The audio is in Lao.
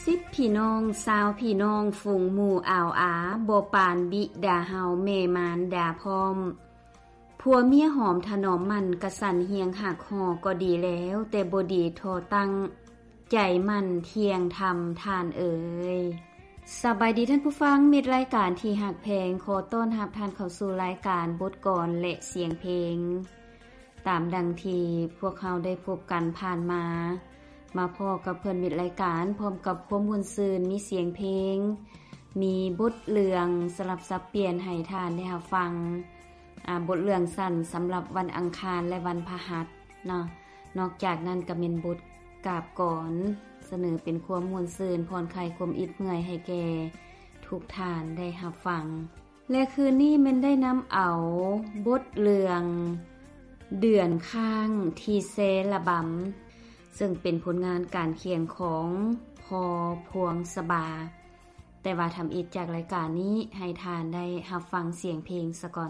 ສິບພີ່ນ້ອງຊາວພີ່ນ້ອງ ຝູງໝູ່ອາວອາ ບໍ່ປານບິດາເຮົາ ແມ່ມານດາພ້ອມ. ຜົວເມຍຫອມຖະໜອມໝັ່ນ ກະສັນຮຽງຫັກຫໍ່ກໍດີແລ້ວ ແຕ່ບໍ່ດີທໍ່ຕັ້ງ ໃຈໝັ່ນທ່ຽງທຳທ່ານເອີຍ. ສະບາຍດີທ່ານຜູ້ຟັງ ມິດລາຍການທີ່ຮັກແພງ, ຂໍຕ້ອນຮັບທ່ານເຂົ້າສູ່ລາຍການບົດກອນ ແລະ ສຽງເພງ. ຕາມດັ່ງທີ່ພວກເຮົາໄດ້ພົບກັນຜ່ານມາ, ມາພໍ້ກັບເພື່ອນມິດລາຍການ ພ້ອມກັບຄວາມມ່ວນຊື່ນ, ມີສຽງເພງ, ມີບົດເລື່ອງສະຫຼັບສັບປ່ຽນໃຫ້ທ່ານໄດ້ຮັບຟັງ. ອາ, ບົດເລື່ອງສັ້ນສຳລັບວັນອັງຄານ ແລະ ວັນພະຫັດເນາະ. ນອກຈາກນັ້ນກໍແມ່ນບົດກາບກອນ, ສະເໜີເປັນຄວາມມ່ວນຊື່ນ, ຜ່ອນຄາຍຄວາມອິດເມື່ອຍໃຫ້ແກ່ທຸກທ່ານໄດ້ຮັບຟັງ. ແລະ ຄືນນີ້ແມ່ນໄດ້ນຳເອົາບົດເລື່ອງເດືອນຄ້າງທີ່ແຊລະບຳ, ເຊິ່ງເປັນຜົນງານການຂຽນຂອງພໍ່ພວງສະບາ. ແຕ່ວ່າທຳອິດຈາກລາຍການນີ້ ໃຫ້ທ່ານໄດ້ຮັບຟັງສຽງເພງສາກ່ອນ.